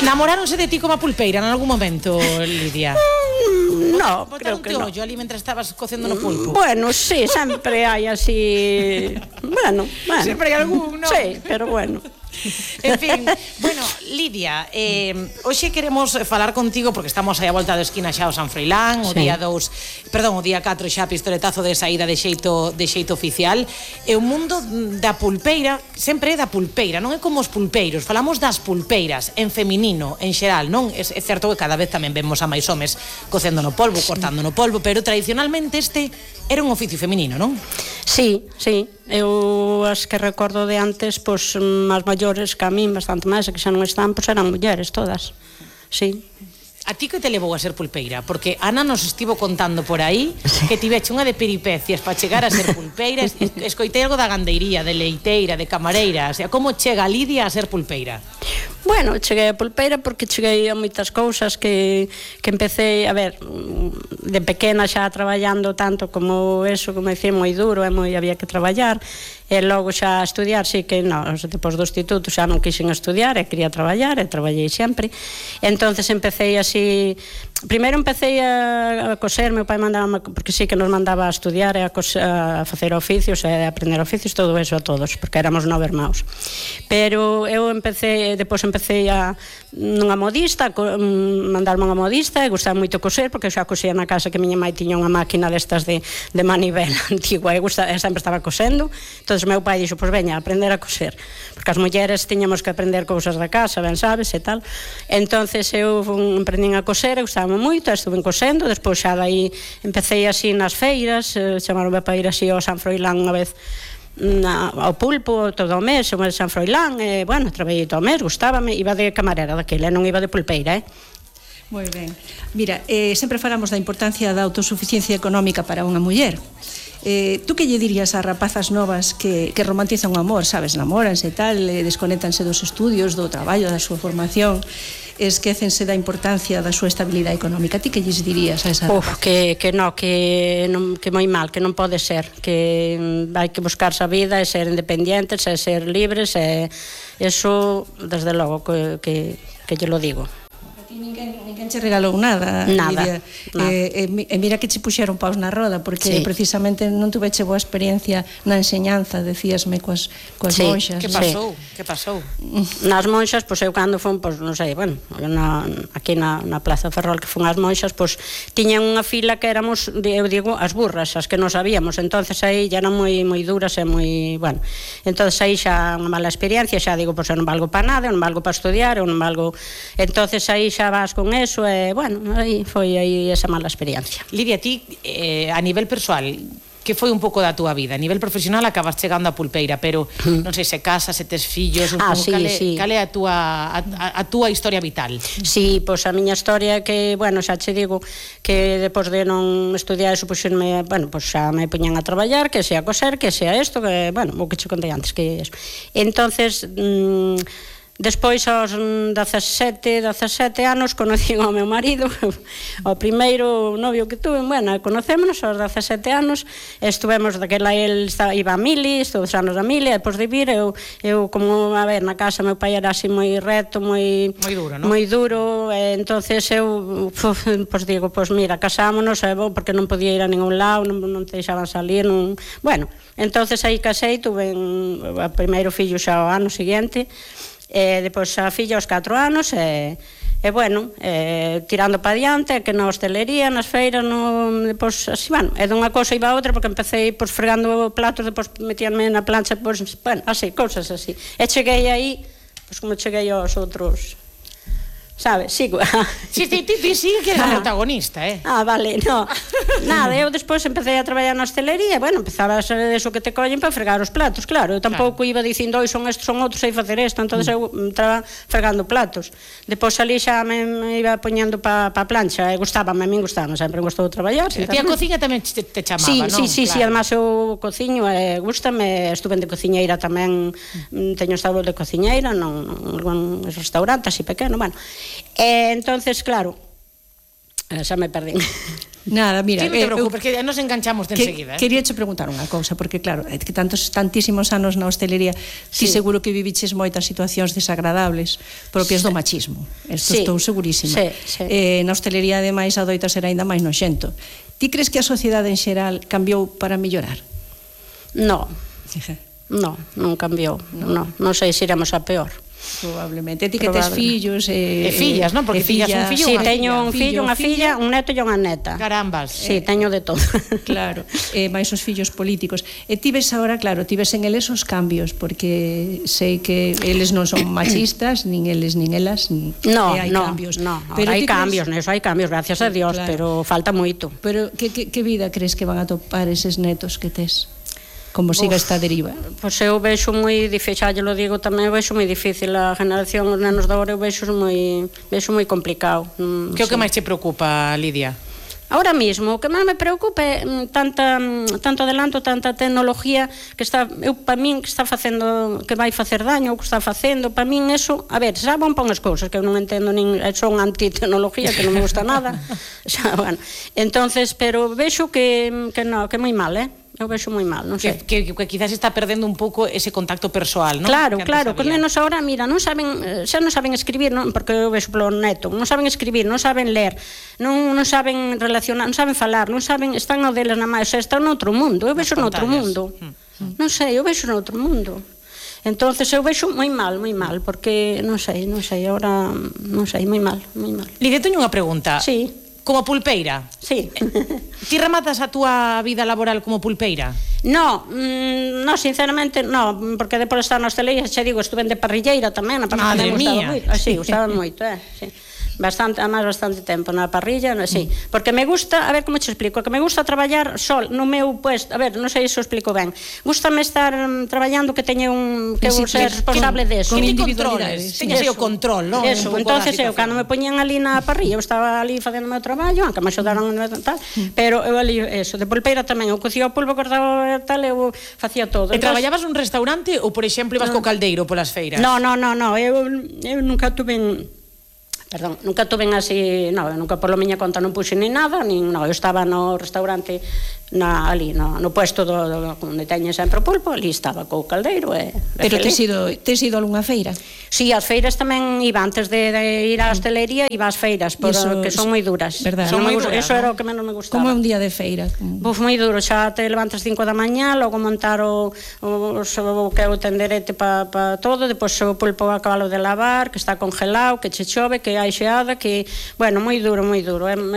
Namoráronse de ti como a pulpeira en algún momento, Lidia? No, creo que no. Ollo ali mentre estabas cocendo no pulpo? Bueno, sí, sempre hai así... Bueno. Sempre hai algún, non? Sí, pero bueno. En fin, bueno, Lidia, hoxe queremos falar contigo porque estamos aí a volta da esquina xa o San Froilán, o día 2, perdón, o día 4 xa pistoletazo de saída de xeito oficial, e o mundo da pulpeira sempre é da pulpeira, non é como os pulpeiros, falamos das pulpeiras en feminino, en xeral, non? É certo que cada vez tamén vemos a máis homes cocendo no polvo, cortando no polvo, pero tradicionalmente este era un oficio feminino, non? Sí. Eu as que recordo de antes, pois, as maiores que a min, bastante máis, que xa non están, pois eran mulleres todas. Sí. A ti que te levou a ser pulpeira? Porque Ana nos estivo contando por aí que tiveche unha de peripecias para chegar a ser pulpeira. Escoitei algo da gandeiría, de leiteira, de camareira. O sea, como chega Lidia a ser pulpeira? Bueno, cheguei a pulpeira porque cheguei a moitas cousas que empecé, a ver, de pequena xa traballando tanto como eso, como dicir, moi duro, había que traballar, e logo xa estudiar, sí que non, depois do instituto xa non quixen estudiar, e quería traballar, e traballei sempre. Entonces empecé así, primeiro empecé a coser, meu pai mandaba, porque sí que nos mandaba a estudiar e a facer oficios e a aprender oficios, todo eso a todos, porque éramos 9 irmãos. Pero eu depois empecé nunha modista, mandarme unha modista, e gustaba moito coser, porque eu xa cosía na casa que miña mãe tiña unha máquina destas de manivela antigua, e sempre estaba cosendo. Entón meu pai dixo, pois veña, aprender a coser, porque as mulleres tiñamos que aprender cousas da casa, ben sabes, e tal. Entonces eu aprendín a coser, e gustaba moito, estuve cosendo, despois xa dai empecé así nas feiras, chamaronme para ir así ao San Froilán unha vez, ao pulpo todo o mes, o San Froilán, e bueno, traballei todo o mes, gustábame, iba de camarera daquela, non iba de pulpeira, Moi ben. Mira, sempre falamos da importancia da autosuficiencia económica para unha muller. Tú que lle dirías a rapazas novas que romantizan o amor, sabes, namoranse e tal, desconéctanse dos estudios, do traballo, da súa formación, esquécense da importancia da súa estabilidade económica? Ti que lles dirías a esa rapazas? Que moi mal, que non pode ser, que hai que buscarse a vida e ser independientes e ser libres, e eso, desde logo, que lle lo digo. Ninguén che regalou nada, Lidia. E mira que che puxeron paus na roda, porque precisamente non tuveche boa experiencia na enseñanza, decíasme, coas monxas. Que pasou? Nas monxas, pois eu cando fun, pois non sei, bueno, aquí na Plaza Ferrol que fun as monxas, pois tiñan unha fila que éramos, eu digo, as burras, as que non sabíamos, entonces aí ya eran moi duras e moi, bueno, entonces aí xa unha mala experiencia, xa digo, pois eu non valgo para nada, eu non valgo para estudiar, eu non valgo, entonces aí xa vas con eso, e bueno, aí foi aí esa mala experiencia. Lidia, ti a nivel persoal, que foi un pouco da túa vida? A nivel profesional acabas chegando a pulpeira, pero non sei se casas, se tes fillos, cal é a túa historia vital? Sí, pois a miña historia que, bueno, xa che digo que depois de non estudiar eso, pois xa me poñan a traballar, que sea coser, que sea isto, que, bueno, o que che contei antes, que é eso. Entonces, despois aos 17 anos conocí ao meu marido, o primeiro novio que tuve, bueno, conocémonos aos 17 anos, estuvemos daquela, el iba a mili, estuve os anos da mili, e depois de vir, eu como, a ver, na casa meu pai era así moi reto, moi duro, non? Moi duro, e entonces eu, pois digo, pois mira, casámonos, é bom, porque non podía ir a ningún lado, non te deixaban salir, non, bueno, entonces aí casei, tuve o primeiro fillo xa o ano seguinte, e depois a filla aos 4 anos, e bueno, tirando para diante, que na hostelería, nas feiras, depois, así, bueno, e dunha cousa iba a outra, porque empecé, pois, fregando platos, depois metíanme na plancha, pois, bueno, así, cousas así, e cheguei aí, pois, como cheguei aos outros, sabes, sigo. Si, ti sigue que eres a protagonista, vale, no. Nada, eu despois empecé a traballar na hostelería, bueno, empezaba a ser eso que te collen para fregar os platos, claro, eu tampouco iba dicindo, oi, son estos, son outros, sei facer isto, entonces eu estaba fregando platos. Depois ali xa me iba poñendo para a plancha, e gustábame, a min gustaba, sempre me gustou traballar. E a cociña tamén te chamaba, non? Sí, además eu cociño, gústame, estuve de cociñeira tamén, teño estado de cociñeira nun restaurante así pequeno, bueno. Entonces, claro, xa me perdín. Nada, mira, Sí, non te preocupes, que nos enganchamos de enseguida. Quería che preguntar unha cousa, porque claro, que tantísimos anos na hostelería, ti seguro que viviches moitas situacións desagradables propias do machismo. Isto estou segurísima. Na hostelería, ademais, adoita ser aínda máis noxento. Ti crees que a sociedade en xeral cambiou para mellorar? Non, non cambiou. Non sei se iremos a peor. Probablemente. Ti que tes fillos e fillas, non? Porque fillas un fillo, sí, teño un fillo, unha filla, un neto e unha neta. Carambas. Sí, teño de todo. Claro, máis os fillos políticos. E ti ves agora, claro, ti ves en eles os cambios, porque sei que eles non son machistas, nin eles nin elas, hai cambios. Pero hai cambios, hai cambios, gracias a Dios, pero falta moito. Pero que vida crees que van a topar eses netos que tes? Como siga esta deriva? Pois eu vexo moi difícil, xa lo digo tamén, eu vexo moi difícil a generación, os nenos de agora eu vexo moi complicado. Que é o que máis te preocupa, Lidia? Ahora mismo, o que máis me preocupa é tanto adelanto, tanta tecnología que está, para min, que está facendo, que vai facer daño, o que está facendo, para min eso, a ver, xa van para unhas cousas que eu non entendo, nin son antitecnología, que non me gusta nada, xa, bueno, entonces, pero vexo que é moi mal, eu vexo moi mal, non sei. Que quizás está perdendo un pouco ese contacto persoal, non? Claro, que os nenos agora, mira, non saben, xa non saben escribir, non, porque eu vexo polo neto, non saben escribir, non saben ler, non saben relacionar, non saben falar, non saben, están no deles na máis, están noutro mundo, eu vexo noutro mundo. Non sei, eu vexo noutro mundo. Entonces eu vexo moi mal, porque non sei, agora non sei, moi mal. Lidia, teño unha pregunta. Sí. Como pulpeira? Sí. Ti rematas a túa vida laboral como pulpeira? No, sinceramente, no, porque depois de estar na hostelería, xa digo, estuve de parrilleira tamén, Madre mía. Sí, gustaba moito, sí. Bastante tempo na parrilla, sí, porque me gusta, a ver como te explico, que me gusta traballar sol no meu puesto, a ver, non sei se o explico ben. Gústame estar traballando que teña que eu ser responsable de eso. Con individualidades. Teñas o control, non? Eso, entonces eu, cando me poñían ali na parrilla, eu estaba ali facendo o meu traballo, aunque me axudaron tal, pero eu ali, eso, de pulpeira tamén, eu cocía o pulpo, cortaba tal, eu facía todo. E traballabas nun restaurante ou, por exemplo, ibas co caldeiro polas feiras? No, eu nunca tuve nunca así, eu nunca por miña conta non puxe ni nada, eu estaba no restaurante ali, no puesto onde teñen sempre o pulpo, ali estaba co caldeiro. Pero tes ido a algunha feira? Sí, as feiras tamén iba, antes de ir á hostelería, iba ás feiras, que son moi duras. Eso era o que menos me gustaba. Como é un día de feira? Moi duro, xa te levantas 5 da mañá, logo montar o que é o tenderete para todo, depois o pulpo a cabalo de lavar, que está congelado, que che chove, que hai xeada, que, bueno, moi duro.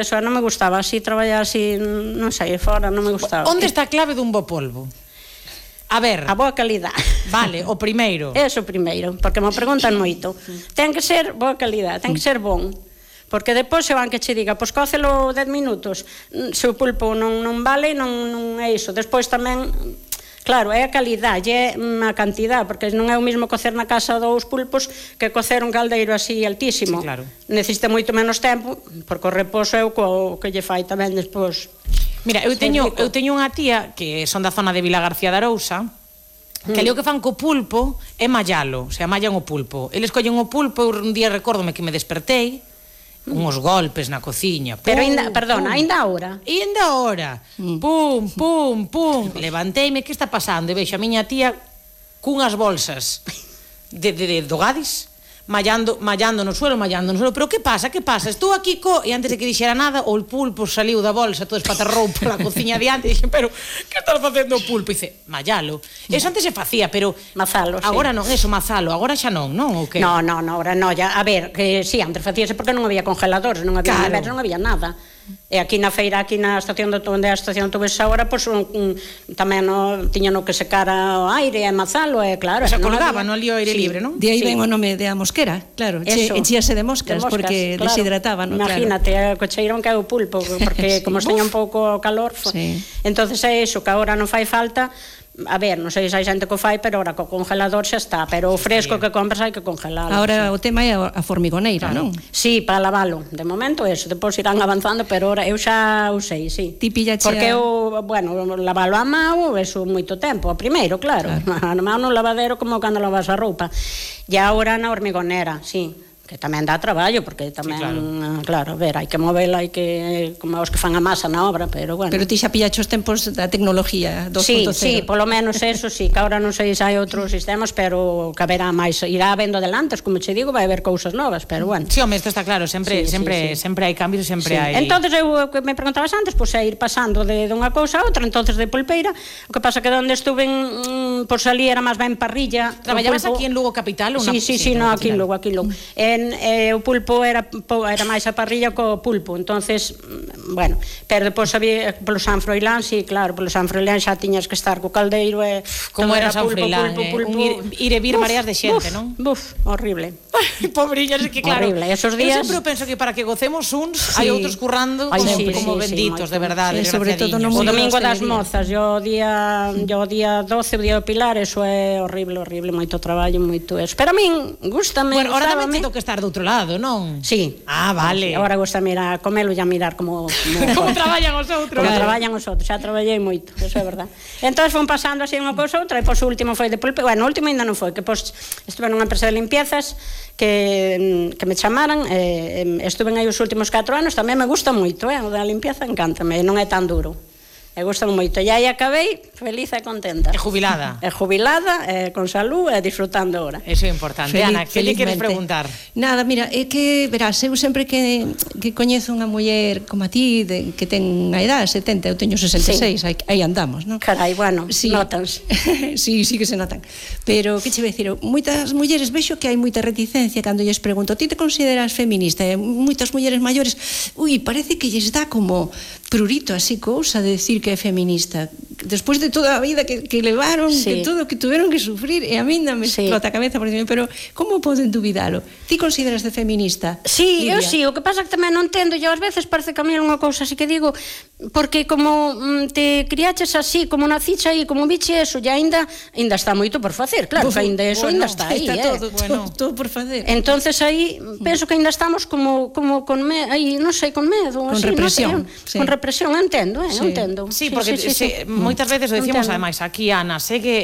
Eso non me gustaba, así traballar así, non sei, fora, non me gustaba. Onde está a clave dun bo polvo? A ver. A boa calidad. Vale, o primeiro. Eso primeiro, porque me preguntan moito. Ten que ser boa calidad, ten que ser bon. Porque depois se van que che diga, pois cócelo 10 minutos, se o pulpo non vale, non é iso. Despois tamén, claro, é a calidad, é a cantidad, porque non é o mesmo cocer na casa 2 pulpos que cocer un caldeiro así altísimo. Sí, claro. Necesita moito menos tempo, porque o reposo é o que lle fai tamén despois. Mira, eu teño unha tía que son da zona de Vila García de Arousa, que ali o que fan co pulpo é mallalo, o sea, mallan o pulpo. Eles collen o pulpo, un día recórdome que me despertei, uns golpes na cociña. Pero ainda ahora. E ainda ahora. Pum, pum, pum. Levanteime, que está pasando? E vexo a miña tía cunhas bolsas do Gadis, mallando no suelo, pero que pasa? Estou aquí e antes de que dixera nada, o pulpo saliu da bolsa, todo espatarrou pola cociña diante, e dixen, pero que estás facendo o pulpo? E dice, mallalo. Eso antes se facía, pero mazalo, agora non, eso, mazalo, agora xa non, ou que? No, agora non, ya, a ver, que sí, antes facíase porque non había congeladores, non había neveras, non había nada. E aquí na feira, aquí na estación onde a estación tuves agora, pois tamén tiña no que secar o aire e mazalo, claro. Se colgaba no ali o aire libre, non? De aí ven o nome de a mosquera, claro, enchíase de moscas, porque deshidrataba, non? Imagínate, o cocheirón que é o pulpo, porque como teña un pouco calor, entonces é iso, que agora non fai falta. A ver, non sei se hai xente que o fai, pero agora co congelador xa está, pero o fresco que compras hai que congelalo. Agora o tema é a formigoneira, non? Sí, para lavalo. De momento eso, depois irán avanzando, pero eu xa usei, sí. Ti pillache porque lavalo a mão, eso moito tempo, o primeiro, claro. A mão no lavadero como cando lavas a roupa. E agora na hormigonera, sí. que tamén dá traballo, porque tamén, claro, a ver, hai que movela, hai que, como os que fan a masa na obra, pero bueno. Pero ti xa pillaste os tempos da tecnología 2.0. Sí, polo menos eso, sí, que agora non sei se hai outros sistemas, pero que haberá máis, irá vendo adelantes, como che digo, vai haber cousas novas, pero bueno. Sí, home, isto está claro, sempre hai cambios, sempre hai... Entonces, eu, que me preguntabas antes, pois é ir pasando de unha cousa a outra, entonces de pulpeira, o que pasa que onde estuve, pois ali era máis ben parrilla. Traballabas aquí en Lugo Capital? Sí, no, aquí en Lugo. O pulpo era máis a parrilla co pulpo, entonces, bueno, pero depois había polo San Froilán, sí, claro, polo San Froilán xa tiñas que estar co caldeiro e como era San Froilán, ir e vir mareas de xente, non? Buf, horrible. Pobrillas, que claro. Horrible, esos días. Eu sempre penso que para que gocemos uns, hai outros currando como benditos, de verdade, sobre todo no o domingo das mozas, o día 12, o día do Pilar, eso é horrible, moito traballo, moito eso. Pero a min gústame. Bueno, ahora tamén tengo que estar do outro lado, non? Sí. Ah, vale. Agora gusta mirar, comelo e a mirar como como traballan os outros. Como traballan os outros, xa traballei moito, eso é verdad. Entón fon pasando así unha cousa outra, e pois o último foi de pulpe, bueno, o último ainda non foi, que pois estuve nunha empresa de limpiezas que me chamaran, estuve aí os últimos 4 anos, tamén me gusta moito, o da limpieza encántame, non é tan duro. Me gustan moito. E aí acabei feliz e contenta. E jubilada. E jubilada, con salud e disfrutando ahora. Eso é importante. Ana, que lle queres preguntar? Nada, mira, é que, verás, eu sempre que coñezo unha muller como a ti, que ten a edad, 70, eu teño 66, aí andamos, non? Carai, bueno, notas. Sí, que se notan. Pero, que che vai dicir, moitas mulleres, vexo que hai moita reticencia cando lles pregunto, ti te consideras feminista? E moitas mulleres maiores, parece que lles dá como prurito así cousa de decir que é feminista. Despois de toda a vida que levaron, que todo que tuveron que sufrir, e a mí me explota a cabeza por dicir, pero como poden dubidalo? Ti consideras de feminista? Sí, Lidia? Eu sí, o que pasa que tamén non entendo, e ás veces parece que a mí é unha cousa así que digo, porque como te criaches así, como naciche aí, como viche eso, e ainda está moito por facer, claro, que ainda eso ainda está aí, todo por facer. Entonces aí penso que ainda estamos como con aí, non sei, con medo, con represión. Con represión, entendo, entendo. Sí, porque moitas veces o decimos, ademais, aquí Ana segue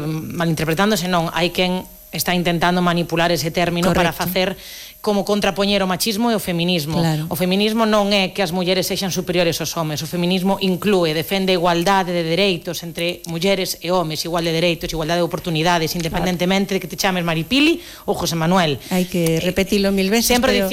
malinterpretándose, non, hai quen está intentando manipular ese término para facer como contrapoñer o machismo e o feminismo. Claro. O feminismo non é que as mulleres sexan superiores aos homes, o feminismo inclúe, defende a igualdade de dereitos entre mulleres e homes, igual de dereitos, igualdade de oportunidades, independentemente de que te chames Maripili ou José Manuel. Hai que repetilo 1000 veces, sempre